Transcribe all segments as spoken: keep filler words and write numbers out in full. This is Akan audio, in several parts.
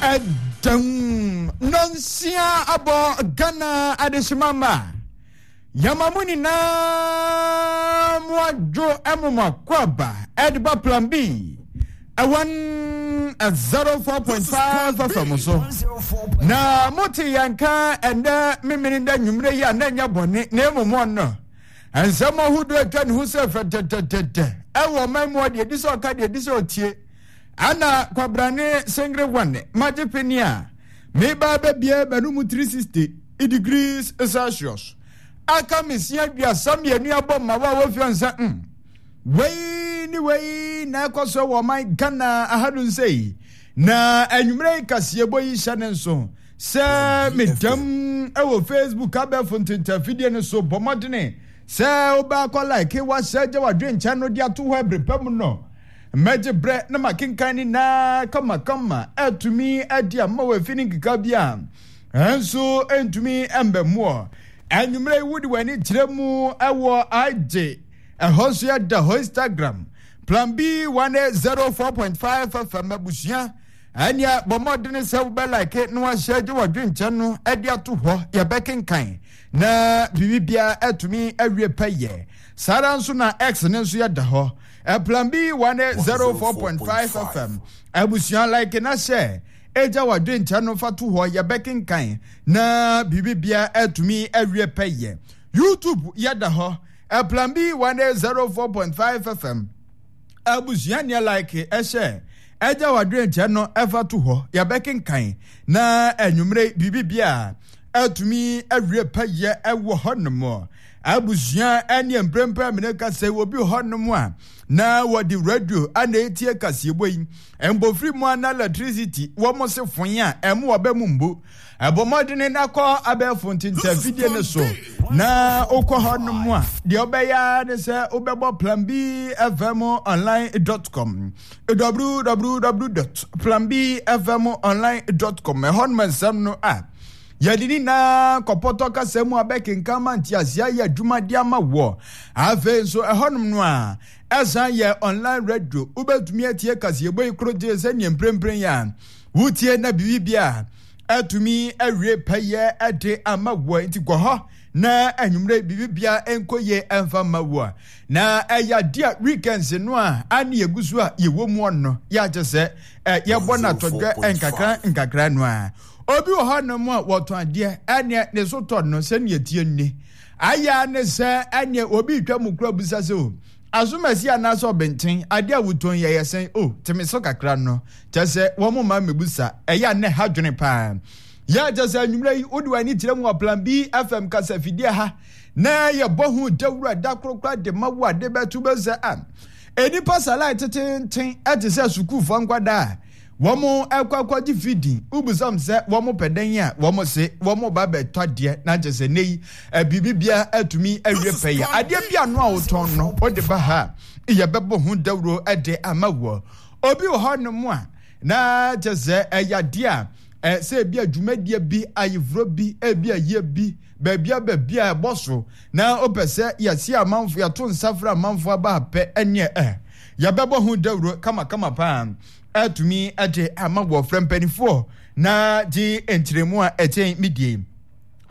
Ɛdɛm nonsia abɔ Ghana adehyema ma yɛma mo nyinaa mo adwo ɛmo mo akɔaba ɛde ba Plan B ɛwɔn zero four point five F M so na mote yɛn ka ɛnɛ memene dɛ nwummerɛ yi a na ɛnyɛ bɔne na mmom ɔno nsɛm ahodoɔ atwa ne ho sɛ fɛtɛtɛtɛtɛ ɛwɔ ɔman mu, deɛ ɛdi sɛ ɔka, deɛ ɛdi sɛ ɔtie ana kwabrane sengere wane magye peni a meba bɛbie bɛno three sixty degrees Celsius aka mesia aduasa mmienu abɔ ma wo a wɔfia nsa mm. Wei ne wei na ɛkɔ so wɔ ɔman Ghana ahadu nsɛ yi na anwummerɛ yi kaseɛbɔ yi hyɛ ne nso sɛ medam ɛwɔ Facebook abɛɛfo ntentafidie no so. Bɔ mmɔdene sɛ wobɛakɔ like, wahyɛ gye wadwenkyɛn no de ato hɔ ɛbere pa mu no mɛgye berɛ na makenkan ne naa kamakama atumi adi ama wɔ afi ne nkeka bi a ɛnso ntumi mbɛmmoɔ. Anwummerɛ yi wode w'ani kyerɛ mu ɛwɔ agye ɛhɔ nso yɛda hɔ Instagram, Plan B one zero four point five F M abusua. Ɛnea bɔ mmɔdene sɛ wobɛ like na wahyɛ gye wadwenkyɛn no de ato hɔ, yɛbɛkenkan na biribiara atumi awie pɛyɛ. Saa ara nso na X ne nso yɛda hɔ, Plan B one zero four point five F M abusua. Like na hyɛ ɛgya wadwenkyɛn no fa to hɔ, yɛbɛkenkan na biribiara atumi awie pɛyɛ. YouTube yɛda hɔ, Plan B one zero four point five F M abusua. Nea like ɛhyɛ ɛgya wadwenkyɛn no ɛfa to hɔ, yɛbɛkenkan na anwummerɛ biribi atumi awie pɛyɛ ɛwɔ hɔnom abusua. Ɛne mprempren mene kasa obi hɔnom a na wɔde radio ana etie kaseɛbɔ yi mbofiri mu ana electricity wɔn se fon a ɛmo wɔbɛ mu mbu. Ɛbɔ mmɔdene na kɔ abɛɛfo ntentafidie no so na wokɔ hɔnom a, deɛ wobɛyɛ ne sɛ wobɛbɔ Plan B F M online dot com, W W W dot plan B F M online dot com. Ɛhɔnom nsɛm no a yɛde ne nyinaa kɔpɔtɔ kasa mu a bɛkenkan ma nteaseɛ ayɛ adwuma de ama wɔ. Afei nso ɛhɔnom no a ɛsan yɛ online radio, wobɛtumi atie kaseɛbɔ yi koro gye sɛneɛ mprempren yi a wotie na biribi a atumi awie pɛyɛ ɛde ama wɔ. Nti kɔ hɔ na anwummerɛ biribia nkɔ yie ɛmfa ma wɔ. Na ɛyɛ adeɛ a weekends no a ane yɛgu so a yɛwɔ mu no yɛakyɛ sɛ yɛbɔ no atɔdwɛ nkakra nkakra no a obi wɔ hɔnom a wɔtɔn adeɛ ɛneɛ ne so tɔ no sɛneɛ tie nni ayɛ ne sɛ ɛneɛ obi twa mu kura busa sɛ o asomasi anaasɛ ɔbɛnten adeɛ a wotɔn yɛ yɛ sɛn o teme so kakra no kyɛ sɛ wɔn ma mmebusa ɛyɛ a ne ha dwene paa. Yɛ kyɛ sɛ anwummerɛ yi wode w'ani kyerɛ mu wɔ Plan B F M kasa fidie ha na yɛbɔ ho dawuro da korokora de ma wo ade bɛto bɛsɛ a enipa salai tetenten ɛte sɛ sukuufoɔ nkwadaa a wɔn ɛkɔ akɔgye fidi wobusam sɛ wɔn pɛ dɛn a wɔn se wɔn ba bɛtɔ adeɛ na kyɛ sɛ ne yi biribi biara atumi awie pɛyɛ. Adeɛ bi ano a wotɔn no wode ba ha, yɛbɛbɔ ho dawuro de ama wɔ. Obi wɔ hɔnom a na kyɛ sɛ ɛyɛ adeɛ a sɛ ebi adwumadie bi, ayeforɔ bi, ebi ayie bi, baabi a baabi a ɛbɔ so na wopɛ sɛ yɛsi amanfo, yɛto nsa frɛ amanfo aba apɛ, ɛneɛ ɛ yɛbɛbɔ ho dawuro kamakama paa atumi de ama wɔ. Frɛ mpanimfoɔ na gye nkyerɛmu a ɛkyɛn medie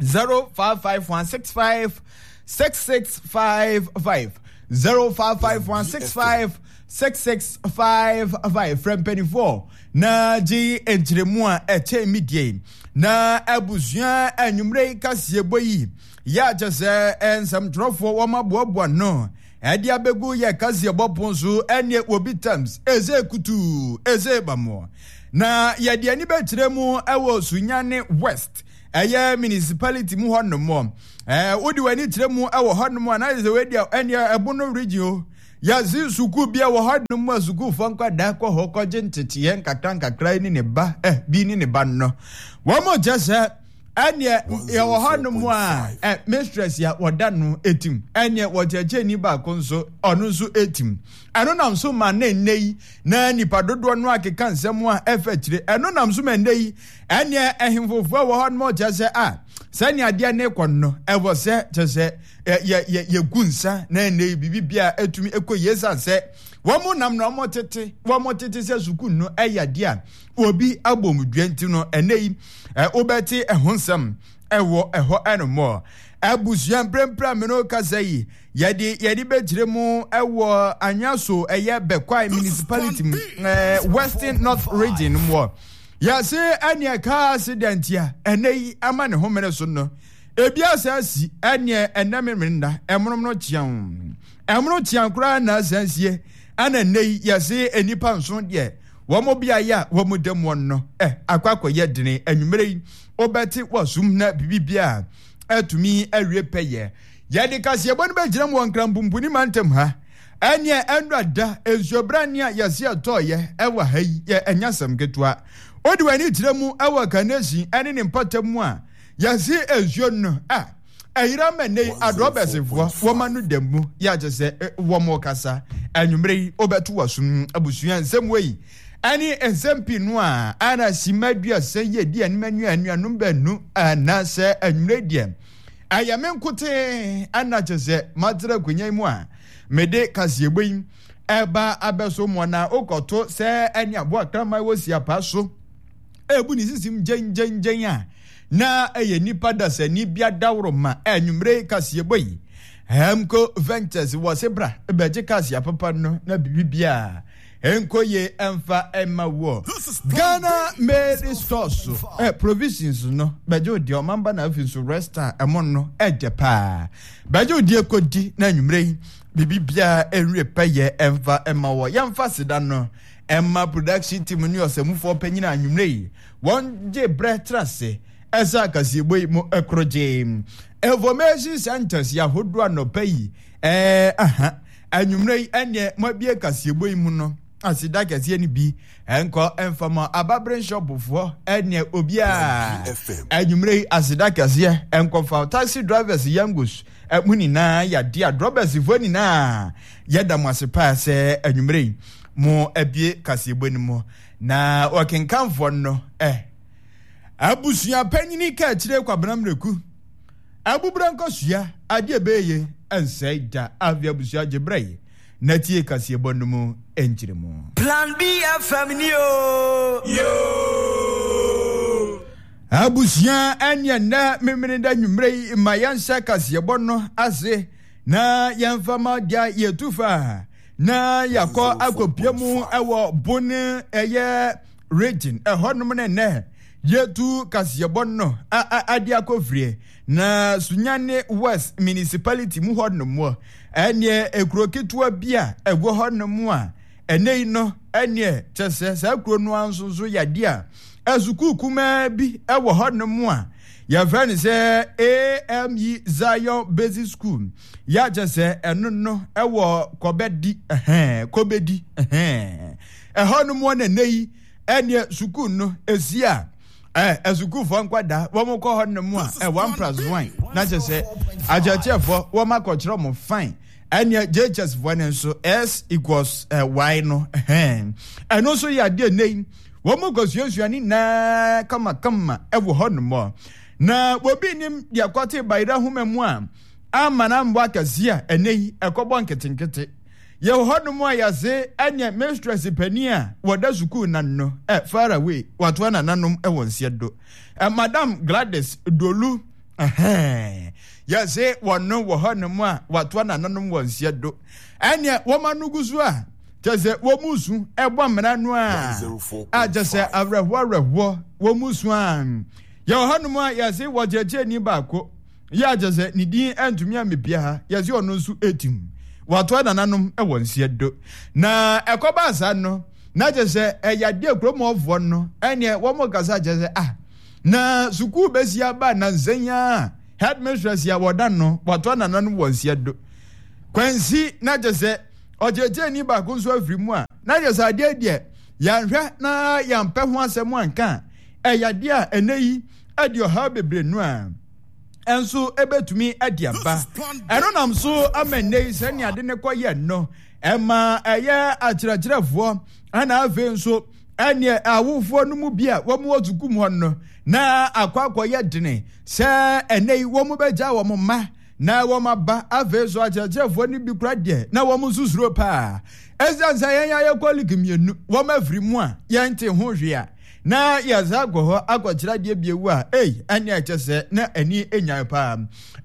zero five five one six five six six five five, zero five five one six five six six five five. Frɛ mpanimfoɔ na gye nkyerɛmu a ɛkyɛn medie. Na abusua, anwummerɛ yi kaseɛbɔ yi yɛ akyɛ sɛ nsɛmtwerɛfoɔ wɔn aboaboa no ɛde abɛgu yɛ kaseɛbɔ pon so. Ɛneɛ wɔbi tams ɛsɛ kutuu ɛsɛ bamoɔ na yɛde ani bɛkyerɛ mu ɛwɔ Sunyane West, ɛyɛ municipality mu hɔnom. Ɛɛ wode w'ani kyerɛ mu ɛwɔ hɔnom a na yɛ sɛ wei deɛ ɛneɛ ɛbo no region o. Yɛsi sukuu bi a wɔ hɔnom a sukuufoɔ nkwadaa kɔ hɔ kɔgye nteteɛ nkakra nkakra ne ne ba ɛ bi ne ne ba no wɔn mo kyɛ sɛ ɛneɛ yɛwɔ hɔnom a ɛ mistress a wɔda no etim ɛneɛ wɔkyerɛkyerɛni baako nso ɔno nso etim. Ɛno nam so ma ne nne yi na nipa dodoɔ no akeka nsɛm a ɛfɛ kyerɛ. Ɛno nam so ma nne yi ɛneɛ ɛhemfofoɔ wɔ hɔnom kyerɛ sɛ a sɛnea adeɛ ne kɔ no ɛwɔ sɛ kyerɛ sɛ yɛ yɛ yɛgu nsa na nne yi biribi bia atumi ɛkɔ yie san sɛ Wɔn nam na wɔn tete wɔn tete sɛ sukuu no ɛyɛ adeɛ a obi abɔ mu dua nti no ɛnɛ yi wobɛte ɛho nsɛm ɛwɔ ɛhɔ ɛnomɔ. Abusua mprempren me no kasa yi yɛde yɛde bɛkyerɛ mu ɛwɔ Anyaso ɛyɛ Bɛkwae municipality mu ɛɛ Western North Region mu hɔ. Yɛse ɛneɛ car accident a ɛnɛ yi ama ne homene so no ebi asa asi ɛneɛ ɛnɛ memenda ɛmonom no kyeɛn ɛmono kyeɛn koraa na asa asie ɛna ɛnɛ yi yɛse nnipa nson deɛ wɔn beaeɛ a wɔn da mu no ɛ akɔ akɔyɛ dene. Anwummerɛ yi wobɛte wɔsum na biribi a atumi awie pɛyɛ. Yɛde kaseɛbɔ no bɛgyina mu wɔ Nkrampumpuni mantam ha. Ɛneɛ ɛnora da nsuobrane a yɛse ɛtɔɔyɛ ɛwɔ ha yi yɛ ɛnyɛ asɛm ketewa. Wode w'ani kyerɛ mu ɛwɔ Kaneshie ɛne ne mpɔtam mu a yɛse nsuo no a ɛyera ma nnɛ yi adrɔbɛsefoɔ wɔma no da mu yɛ akyɛ sɛ wɔn kasa. Anwummerɛ yi wobɛto w'asom abusua nsɛm wei ɛne nsɛm pii no a ana sima aduasa yi adi anim anuanuanom baanu anaasɛ anwummerɛ deɛ ɛyɛ me nkote ana kyɛ sɛ matena akonnwa yi mu a mede kaseɛbɔ yi ɛba abɛso mu na wokɔto sɛ ɛne aboa kraman wɔ siapa so ebu ne sisim gyɛngyɛngyɛn a na ɛyɛ nipa dasani bi adaworo ma anwummerɛ kaseɛbɔ yi Hemco Ventures wɔ se bra bɛgye kaseɛ papa no na biribiara enkoye emfa emma wo. Ghana Made Stores eh, provisions no bɛgye wo deɛ ɔmamba na afei nso resta ɛmo no ɛgye paa bɛgye wo deɛ kɔdi na anwummerɛ yi biribiara ɛnwie pɛyɛ ɛmfa ɛma wɔ. Yɛmfa seda no ɛma production team ne ɔsɛmufoɔ panyin anwummerɛ yi wɔn gye brɛ tra se ɛsɛ akaseɛbɔ yi mu ɛkorogye information centers yɛ ahodoɔ anɔpa yi ɛɛ aha anwummerɛ yi ɛneɛ moabie kaseɛbɔ yi mu no aseda kɛseɛ no bi ɛnkɔ ɛmfama ababere nhyɔpofoɔ ɛneɛ obiara anwummerɛ yi aseda kɛseɛ ɛnkɔfa taxi drivers yangos mo nyinaa yɛade a drɔbɛsfoɔ nyinaa yɛda mo ase paa sɛ anwummerɛ yi mo abie kaseɛbɔ no mu na ɔkenkanfoɔ no ɛ abusua panyini ka akyire Kwabena Mmerɛku abubra nkɔsua adeɛ bɛyɛ ɛnsɛe da afi abusua gye berɛ yi na tie kaseɛbɔ no mu nkyerɛ mu. Plan B F M ni o. Yo. Abusua ɛneɛ nnɛ memene da nwummerɛ yi ma yɛnhyɛ kaseɛbɔ no ase na yɛmfa ma deɛ yɛtu fa na yɛakɔ akɔpia mu ɛwɔ Bone ɛyɛ region ɛhɔnom ne nnɛ yɛtu kaseɛbɔ no ade akɔfirie na Sunyani West Municipality mu hɔnom ɛneɛ ekuro ketewa bi a ɛwɔ hɔnom a ɛnɛ yi no ɛneɛ kyɛ sɛ saa kuro no nso nso yadeɛ a ɛsukuu kumaa bi ɛwɔ hɔnom a yɛfrɛ no sɛ A M E Zion Basic School yɛakyɛ sɛ ɛno no ɛwɔ Kɔbɛdi ɛhɛn Kɔbɛdi ɛhɛn ɛhɔnom wɔ nɛnɛ yi ɛneɛ sukuu no esi a ɛ asukuufoɔ nkwadaa wɔn kɔ hɔ nom a ɛ one plus one na kyɛ sɛ akyerɛkyerɛfoɔ wɔn akɔkyerɛ wɔn fine ɛneɛ J H S foɔ no nso S equals ɛ Y no ɛhɛn ɛno nso yɛ adeɛ nne yi wɔn kɔ suasua ne nyinaa kamakama ɛwɔ hɔ nom na obi nim deɛ kɔte bayerɛ ahoma mu a ama na mbɔ akɛseɛ a ɛnɛ yi ɛkɔbɔ nketenkete. Yɛwɔ hɔnom a yɛase ɛnyɛ mistress panin a wɔda sukuu na no ɛ far away watoa nananom ɛwɔ nseɛ do ɛ Madam Gladys Dolu ɛhɛn yɛse wɔno wɔ hɔnom a watoa nananom wɔ nseɛ do ɛneɛ wɔn ano gu so a kyɛ sɛ wɔn mu su ɛbɔ mmara no a a kyɛ sɛ awerɛhoɔ awerɛhoɔ wɔn mu su a yɛwɔ hɔnom a yɛse wɔkyerɛkyerɛni baako yɛ akyɛ sɛ ne din antumi ammepia ha yɛse ɔno nso etim watoa nananom wɔ nseɛ do na ɛkɔba saa no na kyɛ sɛ ɛyɛ adeɛ kuromɔfoɔ no ɛneɛ wɔn kasa kyɛ sɛ ah na sukuu bɛsi aba nansa yi a headmistress a wɔda no watoa nananom wɔ nseɛ do kwansi na kyɛ sɛ ɔkyerɛkyerɛni baako nso afiri mu a na kyɛ sɛ adeɛ deɛ yɛnhwɛ na yɛmpɛ ho asɛm anka a ɛyɛ adeɛ a ɛnɛ yi ɛde ɔhaw bebree no a ɛnso ɛbɛtumi ɛde aba ɛno nam so ama nnɛ yi sɛnea ade ne kɔyɛ no ɛma ɛyɛ akyerɛkyerɛfoɔ ɛna afei nso ɛneɛ awofoɔ no mu bi a wɔn wɔ sukuu mu hɔ no na akɔ akɔyɛ dene sɛ ɛnɛ yi wɔn bɛgya wɔn mma Na wɔn aba afei so akyerɛkyerɛfoɔ no bi kora deɛ na wɔn nso suro paa. Ɛsiane sɛ yɛn ayɛ kɔlik mmienu wɔn afiri mu a yɛnte ho hwee a na yɛsa akɔ hɔ akɔkyerɛ adeɛ bio a, ei, ɛne ɛkyɛ sɛ na ani nyan paa.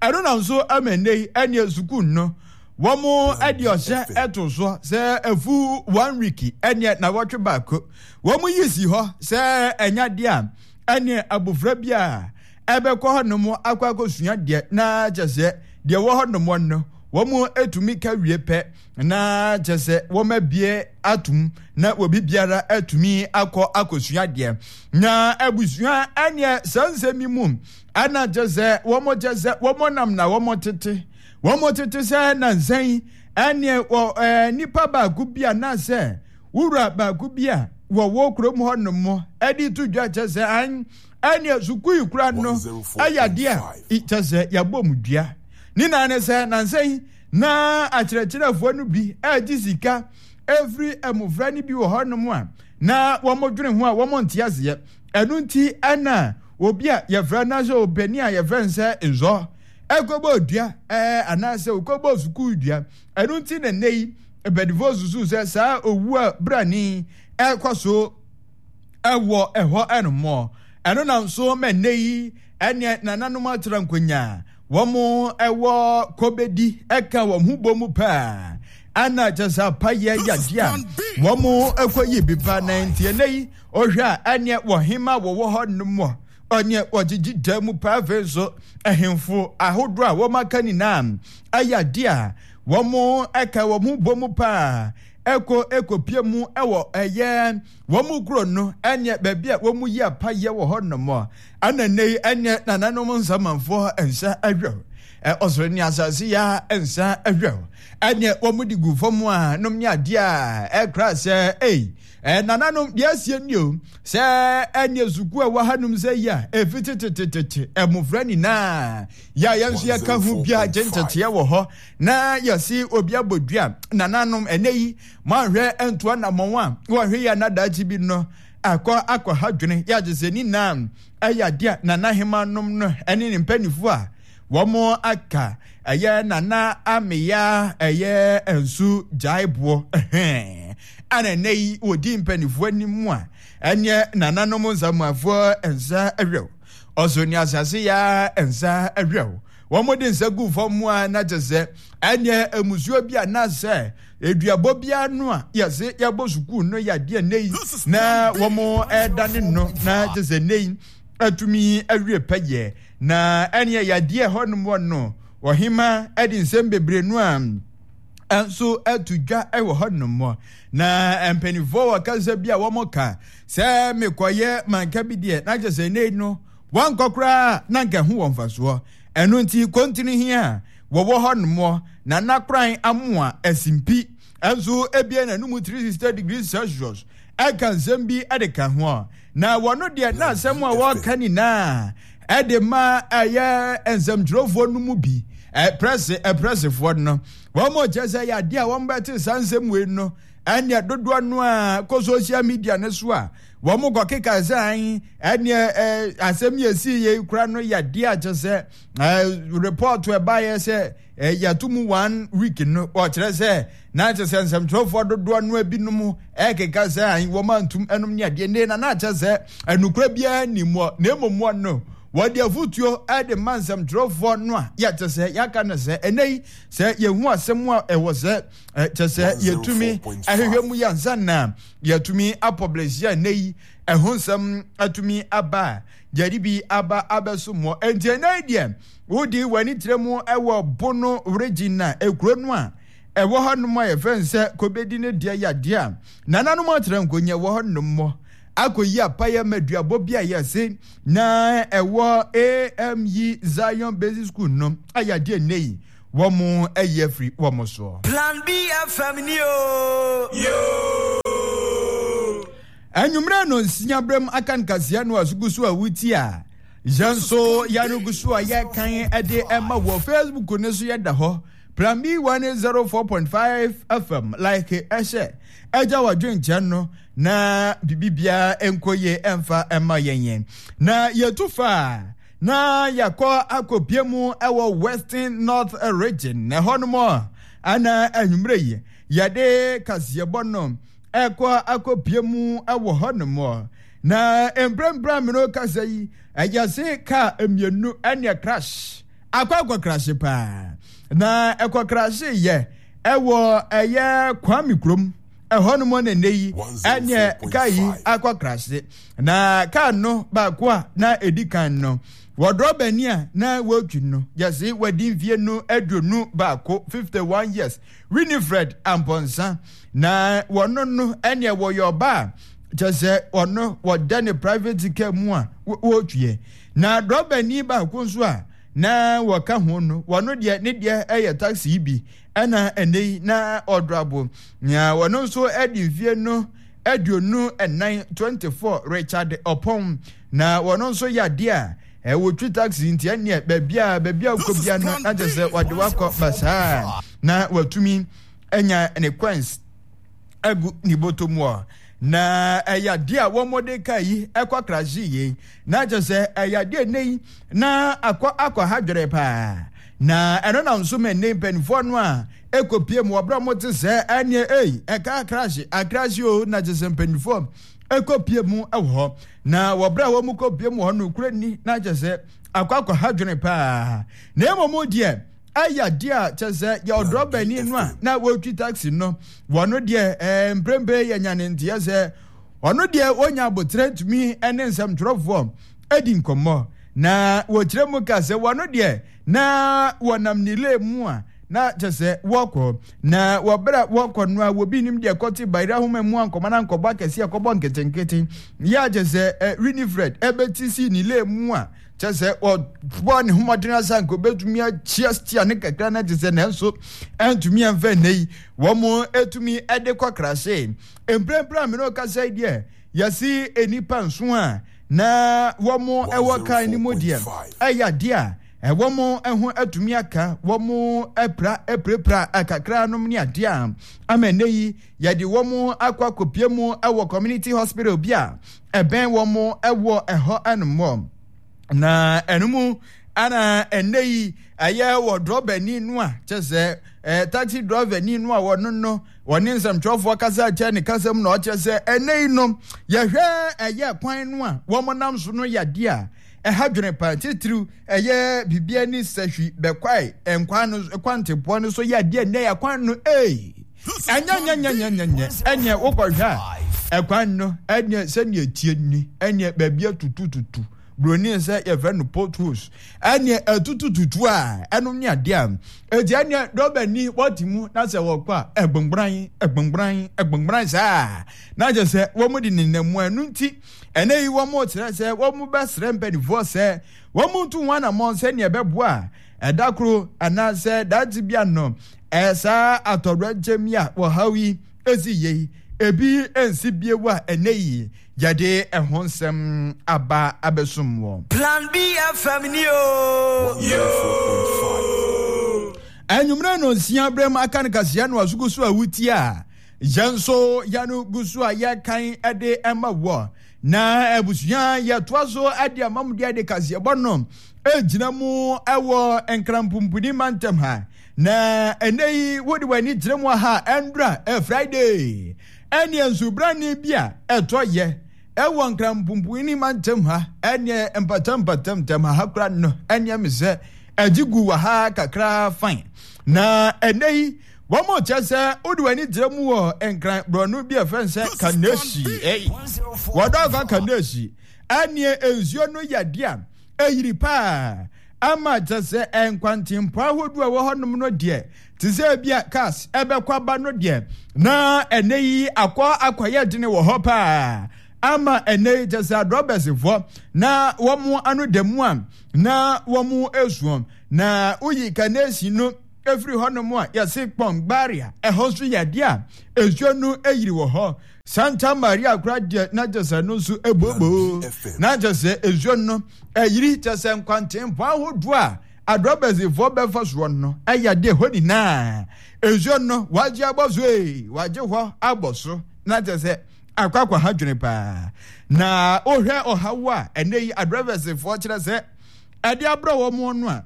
Ɛno nam so ama nnɛ yi ɛne sukuu no wɔn ɛde ɔhyɛ ɛto so sɛ afu one week ɛne nawɔtwe baako wɔn yi si hɔ sɛ ɛnya deɛ a ɛne abofra bi a ɛbɛkɔ hɔnom akɔ akɔsua deɛ na kyɛ sɛ deɛ wɔ hɔnom no wɔn etumi ka wie pɛ na kyɛ sɛ wɔn abie atum na obi biara atumi akɔ akɔsua deɛ. Na abusua ɛneɛ saa nsɛm yi mu ɛna kyɛ sɛ wɔn kyɛ sɛ wɔn nam na wɔn tete wɔn tete sɛ nansan ɛneɛ wɔ ɛɛ nipa baako bi a naasɛ wura baako bi a wɔwɔ kurom hɔnom ɛde to dwa kyɛ sɛ an ɛneɛ sukuu kura no ɛyɛ adeɛ a kyɛ sɛ yɛabɔ mu dua ne nan ne sɛ nansan na akyerɛkyerɛfoɔ no bi ɛregye sika ɛfiri mmofra no bi wɔ hɔnom a na wɔn dwene ho a wɔn nte aseɛ. Ɛno nti ɛna obi a yɛfrɛ no sɛ ɔpanin a yɛfrɛ no sɛ nzɔ ɛkɔbɔ dua ɛɛ anaasɛ ɔkɔbɔ sukuu dua. Ɛno nti na nnɛ yi mpanimfoɔ susu sɛ saa owu a brani ɛkɔ so ɛwɔ ɛhɔ ɛnommɔ. Ɛno nam so ma nnɛ yi ɛneɛ nananom atena nkonya wɔn ɛwɔ kɔbɛdi ɛka wɔn ho bɔ mu paa ana kyɛ sɛ apayɛ yadeɛ a wɔn ɛkɔ yi bi pa na nti ɛnɛ yi ɔhwɛ a ɛneɛ wɔhema wɔwɔ hɔ nom ɔneɛ wɔgyegye da mu paa. Afei nso ahemfo ahodoɔ a wɔn aka nyinaa ɛyɛ adeɛ a wɔn ɛka wɔn ho bɔ mu paa ɛkɔ ɛkɔpie mu ɛwɔ ɛyɛ wɔn kuro no ɛneɛ baabi a wɔn yi apayɛ wɔ hɔ nom ana nne yi ɛneɛ nananom nsamanfoɔ nsa ahwɛ ɛ ɔsoro ne asase ya nsa ahwɛ ɛneɛ wɔn de gu fam a nom ne adeɛ a ɛkora sɛ ei ɛ nananom deɛ asie ni o sɛ ɛneɛ sukuu a ɛwɔ hanom sɛ yi a efi tetetete mmofra nyinaa yɛ a yɛn nso yɛka ho bia gye nteteɛ wɔ hɔ na yɛsi obi abɔ dua. Nananom ɛnɛ yi moanhwɛ ntoa namɔn a wɔhwɛ yi anadaakye bi no akɔ akɔ ha dwene yɛagye sɛ ne nyinaa ɛyɛ adeɛ a nana hema nom no ɛne ne mpanimfoɔ a wɔn aka ɛyɛ nana ameya ɛyɛ nsu gyaeboɔ ɛhɛn ana ɛnɛ yi wɔdi mpanimfoɔ anim a ɛneɛ nananom nsamuafoɔ nsa ɛhwɛw ɔso ne asase ya nsa ɛhwɛw wɔn de nsa gu fam a na kyɛ sɛ ɛneɛ emusuo bi a na sɛ eduabɔ biara no a yɛse yɛbɔ sukuu no yɛ adeɛ nne yi na wɔn ɛdane no na kyɛ sɛ nne yi atumi awie pɛyɛ. Na ɛneɛ yadeɛ hɔnom wɔ no ɔhema ɛde nsɛm bebree no a nso ato dwa ɛwɔ hɔnom. Na mpanimfoɔ wɔ kasa bi a wɔn ka sɛ mekɔyɛ manka bi deɛ na kyɛ sɛ nne no wankɔ koraa na nka ho wɔ mfasoɔ. Ɛno nti kontini hia wɔwɔ hɔnom na nakran amoa asimpi nso ebie n'anum three sixty degrees Celsius ɛka nsɛm bi ɛde ka ho. Na wɔno deɛ na asɛm a wɔka nyinaa ɛde ma ɛyɛ nsɛmtwerɛfoɔ no mu bi ɛprɛse ɛprɛsefoɔ no wɔn mo kyerɛ sɛ yɛ adeɛ a wɔn bɛte saa nsɛm wei no ɛneɛ dodoɔ no a kɔ social media ne so a wɔn mo kɔ keka sɛ ɛneɛ ɛɛ asɛm yɛ si yɛ kura no yɛ adeɛ a kyerɛ sɛ ɛɛ report ɛbaayɛ sɛ yɛto mu one week no ɔkyerɛ sɛ na kyerɛ sɛ nsɛmtwerɛfoɔ dodoɔ no ebinom ɛkeka sɛ ayi wɔn antum ɛnom ne adeɛ ne na na kyerɛ sɛ ɛnukura biara ni mu na emu mu no wɔde afutuo ɛde ma nsɛmtwerɛfoɔ no a yɛkyerɛ sɛ yɛaka no sɛ ɛnɛ yi sɛ yɛhu asɛm a ɛwɔ sɛ kyerɛ sɛ yɛtumi ɛhwehwɛ mu yɛnsa na yɛtumi apɔblɛsi a ɛnɛ yi ɛho nsɛm atumi aba a yɛde bi aba abɛso mɔ. Enti ɛnɛ yi deɛ wodi w'ani kyerɛ mu ɛwɔ Bono region na ekuro no a ɛwɔ hɔnom a yɛfrɛ no sɛ kobedi ne deɛ yadeɛ a nananom atena nkonya wɔ hɔnom mɔ akɔyi apayɛ ma duabɔ bi a yɛse na ɛwɔ A M E Zion Basic School no ayadeɛ nnɛ yi wɔn ayi afiri wɔn soɔ. Plan B F M ni o. Yo. Anwummerɛ no nsia brɛm aka nkaseɛ no asugu so a wuti a yɛn nso yɛregu so a yɛkan ɛde ɛma wɔ Facebook ne so yɛda hɔ Plan B one zero four point five F M like ɛhyɛ ɛgya wadwenkyɛn no na bibibia nkɔ yie ɛmfa ɛma yɛn yɛn na yɛtu fa Na yɛkɔ akɔpie mu ɛwɔ Western North Region na ɛhɔ nom ana anwummerɛ yi yɛde kaseɛbɔ no ɛkɔ akɔpie mu ɛwɔ hɔ nom. Na mprempren mene kasa yi ɛyɛ se kaa mmienu ɛne crash akɔ akɔ crash paa na ɛkɔ crash yɛ ɛwɔ ɛyɛ Kwame kurom ɛhɔ nom na nne yi ɛne kaa yi akɔ crash. Na kaa no baako a na edi kan no wɔdrɔbani a na wɔtwi no yɛse wɔdi mfie no aduonu baako fifty one years Winifred Amponsa. Na wɔno no ɛne wɔyɛ ɔbaa kyɛ sɛ ɔno wɔda ne private car mu a wɔtwiɛ. Na drɔbani baako nso a na wɔka ho no wɔno deɛ ne deɛ ɛyɛ taxi bi ɛna ɛnɛ yi na ɔdrabo na wɔno nso ɛde mfie no aduonu ɛnan twenty four Richard Opon. Na wɔno nso yɛ adeɛ a ɛwɔ taxi nti ɛneɛ baabi a baabi a wokɔ bia no na kyerɛ sɛ wɔde wakɔ basaa na watumi anya ne coins agu ne bɔtɔ mu a. Na ɛyɛ adeɛ a wɔn kaa yi ɛkɔ krahye yie na kyerɛ sɛ ɛyɛ adeɛ nne yi na akɔ akɔ ha dwere paa. Na ɛno na nso mɛ nne mpanimfoɔ no a ɛkɔpie mu wɔbrɛ mo te sɛ ɛneɛ ei ɛka akrahye akrahye o na kyerɛ sɛ mpanimfoɔ ɛkɔpie mu ɛwɔ hɔ. Na wɔbrɛ a wɔn kɔpie mu hɔ no kura ni na kyerɛ sɛ akɔ akɔ ha dwene paa. Na mmom deɛ ɛyɛ adeɛ a kyerɛ sɛ yɛ ɔdrɔbani no a na wɔtwi taxi no wɔno deɛ ɛɛ mprempren yɛ nya ne nteɛ sɛ ɔno deɛ wɔnya abotire tumi ne nsɛmtwerɛfoɔ adi nkɔmmɔ. Na wɔkyerɛ mu ka sɛ wɔno deɛ na wɔnam ne lane mu a na kyerɛ sɛ wɔkɔ na wɔbrɛ wɔkɔ no a wɔbi nim deɛ kɔte bayerɛ ahoma mu ankɔma na nkɔbɔ akɛseɛ kɔbɔ nketenkete yɛ kyerɛ sɛ Winifred ɛbɛti si ne lane mu a kyerɛ sɛ wɔbɔ ne ho mmɔden asa nka obɛtumi akyia stia ne kakra na kyerɛ sɛ nanso ɛntumi ɛmfa nnɛ yi wɔn ɛtumi ɛde kɔ krahye. Mprempren a mene ɔkasa yi deɛ yɛsi nnipa nso a na wɔn ɛwɔ kan ne mu deɛ ɛyɛ adeɛ a ɛwɔ mo ɛho atumi aka wɔn ɛpra ɛpirapira akakra nom ne adeɛ a ama nnɛ yi yɛde wɔn akɔ akɔpie mu ɛwɔ community hospital bi a ɛbɛn wɔn ɛwɔ ɛhɔ ɛnom. Na ɛno mu ana ɛnnɛ yi ɛyɛ wɔ drɔbani no a kyɛ sɛ ɛɛ taxi drɔbani no a wɔno no wɔne nsɛmtwerɛfoɔ kasa kyɛ ne kasa mu na ɔkyerɛ sɛ ɛnnɛ yi no yɛhwɛ ɛyɛ kwan no a wɔn nam so no yɛ adeɛ a ɛha dwene paa titiriw ɛyɛ biribi ani sɛhwi bɛkwae nkwan no kwantepoɔ no so yɛ adeɛ nnɛ yɛ kwan no ee ɛnyɛ nyɛ nyɛ nyɛ nyɛ nyɛ ɛnyɛ wokɔhwɛ a ɛkwan no ɛnyɛ sɛnea tie ni ɛnyɛ baabi atutututu broni sɛ yɛfrɛ no potholes ɛneɛ ɛtutututu a ɛnom ne adeɛ a ɛti ɛneɛ dɔbani wɔte mu na sɛ wɔkɔ a ɛgbɔngbran ɛgbɔngbran ɛgbɔngbran saa na kyerɛ sɛ wɔn de nenam mu ɛno nti ɛnɛ yi wɔn kyerɛ sɛ wɔn bɛsrɛ mpanimfoɔ sɛ wɔn ntu wɔn anammɔn sɛnea ɛbɛboa ɛda koro anaasɛ daakye bi ano ɛsaa atɔwrɛnkyɛm yi a wɔhaw yi esi yie ebi nsi bie wɔ a ɛnɛ yi yɛde ɛho nsɛm aba abɛsom wɔ. Plan B F M ni o. Anwummerɛ no nsia berɛ mu aka no kaseɛ no aso gu so a wotie a yɛn nso yɛno gu so a yɛkan de ɛma wɔ. Na abusua yɛtoa so de ama mu deɛ de kaseɛbɔ no egyina mu ɛwɔ nkrampumpuni mantam ha. Na ɛnɛ yi wode w'ani kyerɛ mu aha ɛndra ɛ Friday ɛneɛ nsubrane bi a ɛtɔ yɛ ɛwɔ nkrampumpuni mantam ha ɛneɛ mpatam mpatam ntam ha ha kora no ɛneɛ me sɛ ɛgye gu wɔ ha kakra fine. Na ɛnɛ yi wɔn mo kyerɛ sɛ wode w'ani kyerɛ mu wɔ nkran borɔno bi a ɛfɛn sɛ Kaneshie ɛyi wɔdɔ afa Kaneshie ɛneɛ nsuo no yɛ deɛ a ɛyiri paa ama kyerɛ sɛ nkwantempɔ ahodoɔ a ɛwɔ hɔnom no deɛ te sɛ ebi a cars ɛbɛkɔ aba no deɛ na ɛnɛ yi akɔ akɔyɛ dene wɔ hɔ paa ama ɛnɛ yi kyerɛ sɛ adrɔbɛsifoɔ na wɔn ano da mu a na wɔn esuo na woyi Kaneshie no efiri hɔnom a yɛse Kpɔngbaria ɛhɔ nso yɛ adeɛ a nsuo no eyiri wɔ hɔ. Santa Maria kora deɛ na kyerɛ sɛ no nso ebobo na kyerɛ sɛ nsuo no ɛyiri kyerɛ sɛ nkwantempɔ ahodoɔ a adrɔbɛsifoɔ bɛfa soɔ no ɛyɛ adeɛ hɔ nyinaa nsuo no wagye abɔ so ee wagye hɔ abɔ so na kyerɛ sɛ akɔ akɔ ha dwene paa. Na wohwɛ ɔhaw a ɛnɛ yi adrɔbɛsifoɔ kyerɛ sɛ ɛde abrɛ wɔn no a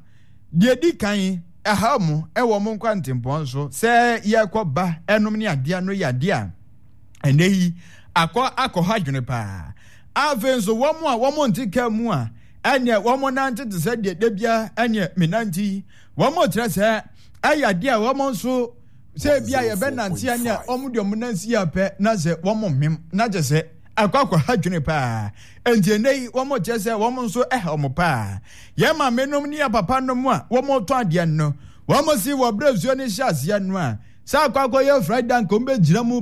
deɛ di kan ɛha mu ɛwɔ wɔn nkwantempɔn so sɛ yɛkɔ ba ɛnom ne adeɛ no yɛ adeɛ a ɛnɛ yi akɔ akɔha adwene paa. Afei nso wɔn a wɔn nte kaa mu a ɛneɛ wɔn nante te sɛ deɛ debia ɛneɛ menante yi, wɔn kyerɛ sɛ ɛyɛ adeɛ a wɔn nso sɛ ebi a yɛbɛnante ɛneɛ wɔn deɛ wɔn nansi yɛ pɛ na sɛ wɔn mmem na kyɛ sɛ akɔ akɔha dwene paa. Enti ɛnɛ yi wɔn kyerɛ sɛ wɔn nso ɛha wɔn paa. Yɛn maame nom ne yɛn papa nom a wɔn tɔn adeɛ no, wɔn si wɔ berɛ nsuo no hyɛ aseɛ no a sɛ akɔ akɔyɛ Friday anka wɔn bɛgyina mu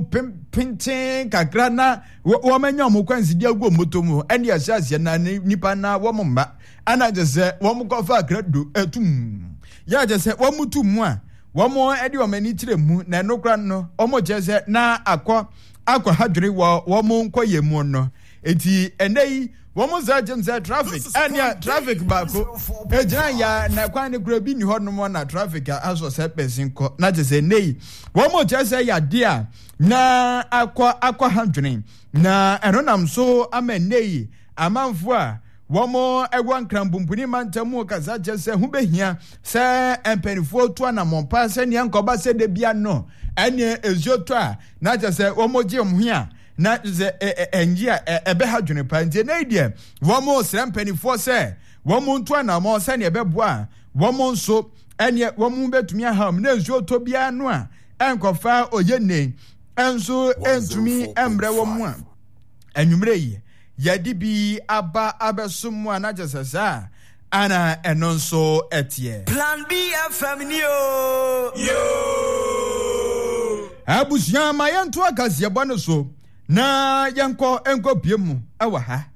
penten kakra na wɔn anya wɔn kwansidi agu wɔn moto mu ɛne ɛhyɛ aseɛ na nipa na wɔn mma ɛna kyɛ sɛ wɔn kɔfa akra do ɛtum yɛ kyɛ sɛ wɔn tu mu a wɔn ɛde wɔn ani kyerɛ mu na ɛno kora no wɔn kyerɛ sɛ na akɔ akɔ ha dwene wɔ wɔn nkɔyɛ mu no. Eti ɛnɛ yi wɔn sɛ kyɛm sɛ traffic ɛnea traffic baako egyina ya na kwan ne kura bi ni hɔ nom na traffic asɔ sɛ pɛsin kɔ na kyɛ sɛ ɛnɛ yi wɔn kyerɛ sɛ yadeɛ a na akɔ akɔ ha dwene na ɛno nam so ama ɛnɛ yi amanfo a wɔn ɛwɔ nkranpumpuni mantam mu kasa kyerɛ sɛ ho behia sɛ mpanimfoɔ tu anammɔn pa sɛnea nkɔba sɛ de bia no ɛnea nsuo tɔ a na kyerɛ sɛ wɔn gye wɔn ho a na sɛ ɛngye a ɛbɛha dwene pa. Nti ɛnɛ yi deɛ wɔn srɛ mpanimfoɔ sɛ wɔn ntu anammɔn sɛnea ɛbɛboa wɔn nso ɛneɛ wɔn bɛtumi aha wɔn na nsuo tɔ biara no a ɛnkɔfa oyɛ nne ɛnso ɛntumi ɛmbrɛ wɔn a anwummerɛ yi yɛde bi aba abɛso mu a na kyerɛ sɛ saa ana ɛno nso ɛteɛ. Plan B F M ni o. Yo. Abusua ma yɛnto akaseɛbɔ no so na yɛnkɔ nkɔpie mu ɛwɔ ha.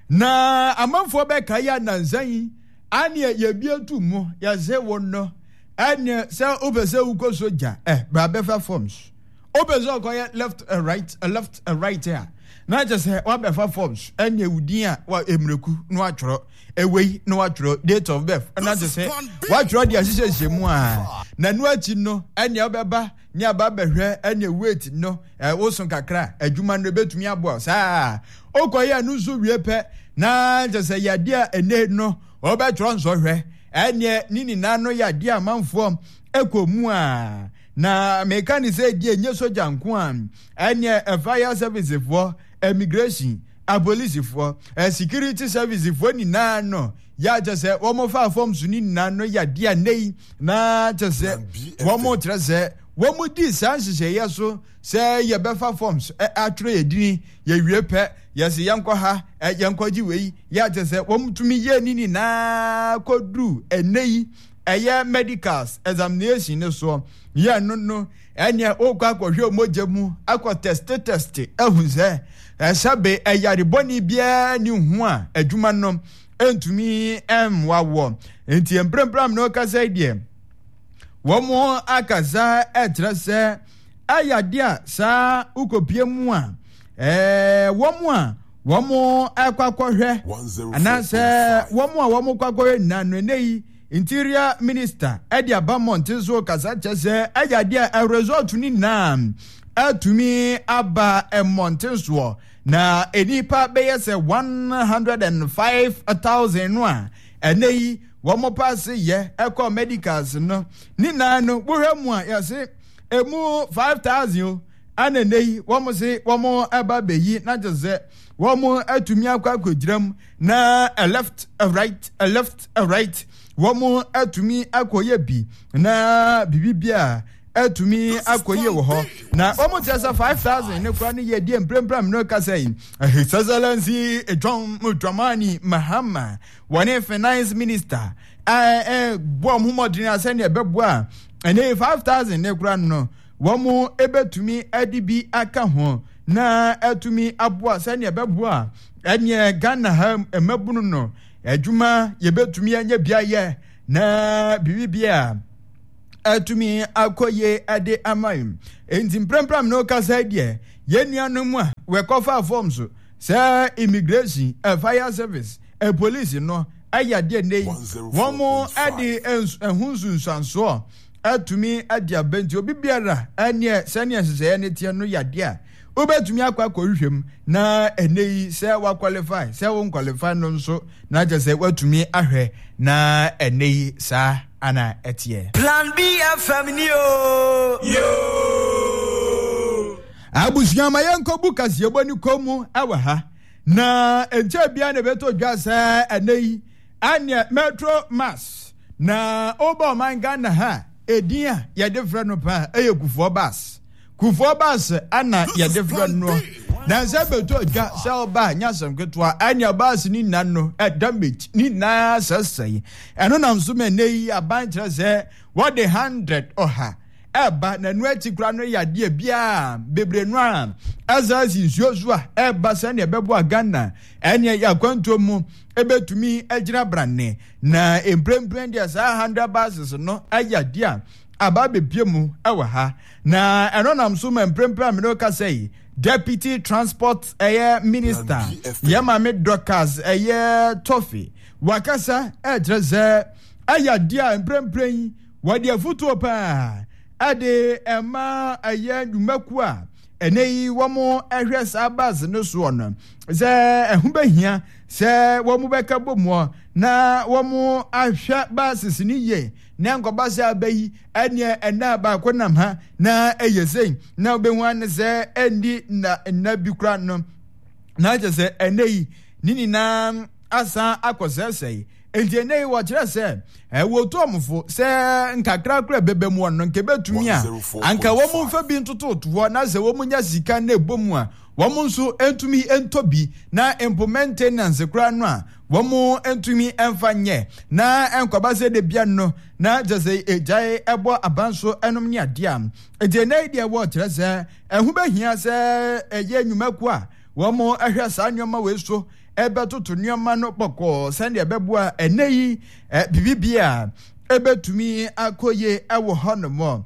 Na amanfoɔ bɛka yɛ anansa yi aneɛ yɛbie tu mu yɛse wo no ɛneɛ sɛ wopɛ sɛ wokɔ sogya ɛ bra bɛfa forms. Wopɛ sɛ ɔkɔyɛ left uh, right uh, left uh, right a na kyerɛ sɛ wabɛfa forms ɛneɛ wo din a wa mmireku na watwerɛ ewei na watwerɛ date of birth na kyerɛ sɛ watwerɛ deɛ ahyehyɛhyɛ mu a na ɛno akyi no ɛneɛ wobɛba ne aba bɛhwɛ ɛneɛ weight no ɛwoso kakra adwuma no ebɛtumi aboa saa wokɔyɛ ɛno nso wie pɛ na kyerɛ sɛ yadeɛ a ɛnɛ no wɔbɛtwerɛ nsɔhwɛ ɛneɛ ne nyinaa no yadeɛ amanfoɔ ɛkɔ mu a na meka ne sɛ die nye sogya nko a ɛneɛ fire service foɔ, immigration, apolisifoɔ, security service foɔ nyinaa no yɛ kyɛ sɛ wɔn fa fam so ne nyinaa no yadeɛ a nnɛ yi na kyɛ sɛ wɔn kyerɛ sɛ wɔn di saa nhyehyɛeɛ so sɛ yɛbɛfa forms atwerɛ yɛ dini yɛwie pɛ yɛsɛ yɛnkɔ ha yɛnkɔ gye wei yɛ kyɛ sɛ wɔn tumi yɛ ne nyinaa kɔduru ɛnnɛ yi ɛyɛ medicals examination ne soɔ yɛ no no ɛneɛ wokɔ akɔhwɛ mogya mu akɔ teste teste ahu sɛ ɛsɛbe ɛyare bɔne biara ne ho a adwuma no ɛntumi ɛmmoa wɔ. Nti mprempren no kasa deɛ wɔn akasa ɛkyerɛ sɛ ɛyɛ adeɛ a saa wokɔpie mu a ɛɛ wɔn a wɔn ɛkɔ akɔhwɛ anaasɛ wɔn a wɔn kɔ akɔhwɛ nyinaa no ɛnɛ yi Interior Minister ɛde aba mmɔnten so kasa kyerɛ sɛ ɛyɛ adeɛ a result ne nyinaa atumi aba mmɔnten soɔ na nnipa bɛyɛ sɛ one hundred and five thousand no a ɛnɛ yi wɔn paase yɛ ɛkɔ medicals no ne nyinaa no wohwɛ mu a yɛse emu five thousand o ɛna ɛnɛ yi wɔn se wɔn ɛba bɛyi na kyerɛ sɛ wɔn atumi akɔ akɔgyina mu na a left a right a left a right wɔn atumi akɔyɛ bi na biribi bi a atumi akɔyɛ wɔ hɔ na wɔn kyerɛ sɛ five thousand ne kora ne yɛ deɛ mprempren no kasa yi His Excellency John Dramani Mahama wɔne finance minister ɛɛ ɛɛ bɔ wɔn mmɔden asɛnea ɛbɛboa ɛne five thousand ne kora no wɔn ebɛtumi ɛde bi aka ho na atumi aboa sɛnea ɛbɛboa ɛneɛ Ghana ha mmabunu no adwuma yɛbɛtumi anya biayɛ na biribi a atumi akɔye ɛde ama yi. Enti mprempren no kasa deɛ yɛn nuanom a wɔkɔfa form so sɛ immigration, fire service, police no ɛyɛ adeɛ nne yi wɔn ɛde ɛho nsunsuansoɔ atumi ade aba nti obi biara ɛneɛ sɛnea nhyehyɛeɛ ne teɛ no yɛ adeɛ a Wobɛtumi akɔ akɔhwehwɛ mu na ɛnɛ yi sɛ waqualify sɛ wo nqualify no nso na kyerɛ sɛ woatumi ahwɛ na ɛnɛ yi saa ana ɛteɛ. Plan B F M ni o. Yo. Abusua, ma yɛnkɔbu kaseɛbɔ ne kɔn mu ɛwɔ ha na nkyɛn bia na ɛbɛtɔ dwa sɛ ɛnɛ yi ɛneɛ Metro Mass na ɔba ɔman Ghana ha, edin a yɛde frɛ no paa ɛyɛ Kufuor Bus. Kufuor Bus ana yɛde frɛ no na sɛ bɛtɔ dwa sɛ ɔba nyɛ asɛm ketewa, ɛneɛ bus ne nyinaa no damage ne nyinaa sɛsɛe. Ɛno nam so ma ɛnɛ yi aban kyerɛ sɛ wɔde hundred ɔha ɛba na ɛno akyi kora no yɛ adeɛ biara bebree no a ɛsɛ si nsuo so a ɛba sɛnea ɛbɛboa Ghana ɛneɛ yɛ akwantuo mu ɛbɛtumi agyina brane. Na mprempren deɛ, saa hundred buses no ɛyɛ adeɛ a aba abɛpie mu ɛwɔ ha na ɛno nam so ma mprempren a mene kasa yi, Deputy Transport ɛyɛ Minister, yɛ Maame Dorcas ɛyɛ Tɔfe, wakasa ɛkyerɛ sɛ ɛyɛ adeɛ a mprempren yi wɔde afotuo paa ɛde ɛma ɛyɛ nnwumakuo a ɛnɛ yi wɔn ɛhwɛ saa bus no soɔ no sɛ ɛho bɛhia sɛ wɔn bɛka bɔ mu na wɔn ahwɛ buses no yie na nkɔba sɛ aba yi ɛneɛ ɛna baako nam ha na ɛyɛ sɛn na wobɛhu ane sɛ ɛnni nna nna bi kora no na kyerɛ sɛ ɛnɛ yi ne nyinaa asan akɔsɛesɛe. Nti ɛnɛ yi wɔkyerɛ sɛ ɛwɔ tu ɔmofo sɛ nkakrakra bɛbɛ mu ɔno nka ɛbɛtumi a anka wɔn mfa bi ntototo hɔ na sɛ wɔn nya sika na ɛbɔ mu a, wɔn nso ntumi ntɔ bi na mpo maintenance koraa no a wɔn ntumi mfa nyɛ na nkɔba sɛ de bia no na kyerɛ sɛ egyae ɛbɔ aban so ɛnom ne adeɛ a. Nti ɛnɛ yi deɛ wɔkyerɛ sɛ ɛho bɛhia sɛ ɛyɛ nnwumakuo a wɔn ɛhwɛ saa nneɛma wei so ɛbɛtoto nneɛma no bɔkɔɔ sɛdeɛ ɛbɛboa ɛnɛ yi ɛ biribi a ɛbɛtumi akɔ yie ɛwɔ hɔnom.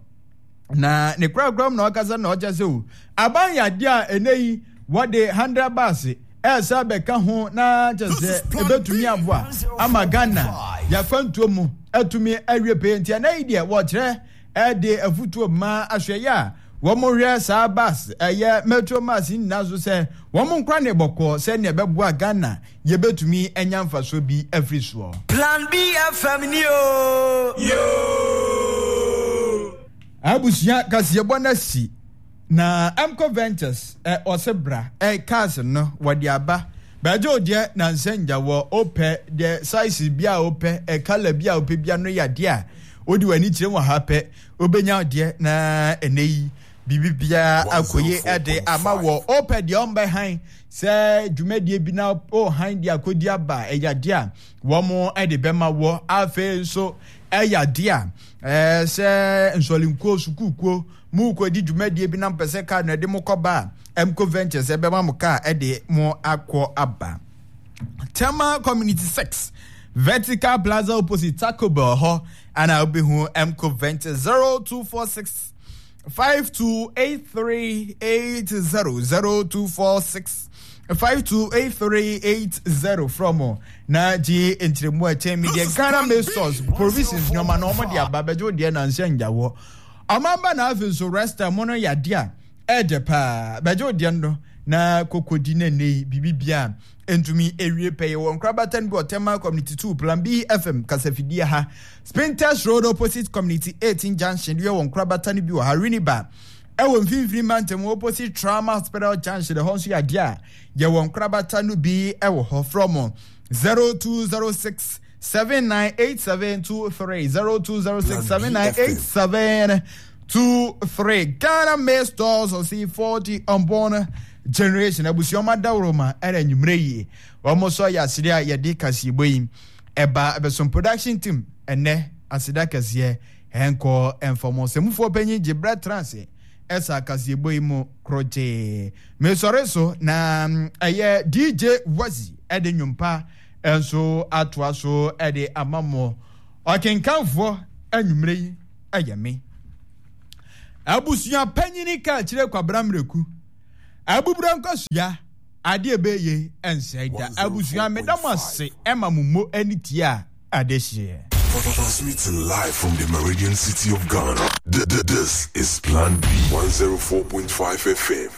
Na ne korakora mu na ɔkasa na ɔkyɛ sɛ o aban yɛ adeɛ a ɛnɛ yi wɔde hundred bus ɛsɛ bɛka ho na kyɛ sɛ ɛbɛtumi aboa ama Ghana yɛakwantuo mu atumi awie pɛyɛ. Nti ɛnɛ yi deɛ wɔkyerɛ ɛde afutuo ma ahwɛyɛ a wɔn hwɛ saa bus ɛyɛ Metro Mass nyinaa so sɛ wɔn nkora ne bɔkɔɔ sɛnea ɛbɛboa Ghana yɛbɛtumi anya mfasoɔ bi afiri soɔ. Plan B F M ni o. Yo. Abusua, kaseɛbɔ no asi na Mco Ventures ɛ ɔsɛ bra ɛ cars no wɔde aba bɛgye o deɛ na nsɛngya wɔ opɛ deɛ size bi a wopɛ, ɛ colour bi a wopɛ bia no yɛ adeɛ a wode w'ani kyerɛ wɔ ha pɛ, wobɛnya deɛ na ɛnɛ yi biribi biara akɔye ɛde ama wɔ. Wopɛ deɛ ɔmbɛhan sɛ dwumadie bi na ɔhan de akɔdi aba, ɛyɛ adeɛ a wɔn ɛde bɛma wɔ. Afei nso ɛyɛ adeɛ a ɛɛ sɛ nsɔlinkuo sukuukuo mu kɔdi dwumadie bi na mpɛ sɛ kaa no ɛde mo kɔba a, Mco Ventures ɛbɛma mo kaa ɛde mo akɔ aba. Tema Community six, Vertical Plaza opposite Taco Bell hɔ ana wobɛhu Mco Ventures. zero two four six five two eight three eight zero, zero two four six five two eight three eight zero from na gye nkyerɛmu a ɛkyɛn mi deɛ. Ghana Maize Stores provisions nneɛma na wɔn de aba bɛgye wo deɛ na nhyɛ ngyawɔ ɔman na afei nso resta mo no yɛ adeɛ a ɛɛdɛ paa. Bɛgye wo deɛ no na kokodi ne nne yi biribi bia ntumi ewie pɛyɛ wɔ nkorabata no bi wɔ Tema Community two, Plan B F M kasafidie ha, Spintex Road opposite Community eighteen junction deɛ wɔ nkorabata no bi wɔ ha. Winneba ɛwɔ Mfimfini Mantam opposite Trauma Hospital junction, ɛhɔ nso yɛ adeɛ a yɛwɔ nkorabata no bi ɛwɔ hɔ. From zero two zero six seven nine eight seven two three, zero two zero six seven nine eight seven two three. Ghana Maize Stores ɔsi forty unborn generation. Abusuama dawuroma ɛna enyimire yie wɔn nso yɛ asere a yɛde kaseɛbɔ yi ɛba ɛbɛsom production team. Ɛnɛ aseda kɛseɛ ɛnkɔ mfɔmɔsɛmufoɔ panyin gye brɛ transe ɛsa kaseɛbɔ yi mu korɔgyee mesɔre so na ɛyɛ D J Wazi ɛde nnwompa nso atoa so ɛde ama mo. Ɔkenkanfoɔ anwummerɛ yi ɛyɛ me abusua panyini ka kyerɛ Kwabra Mmerɛku abubura nkɔsua adeɛ bɛyɛ ɛnsɛe da. Abusua, meda mo ase ɛma mo mo ani tie a adehyeɛ. Transmitting live from the Meridian City of Ghana. This is Plan B one zero four point five F M.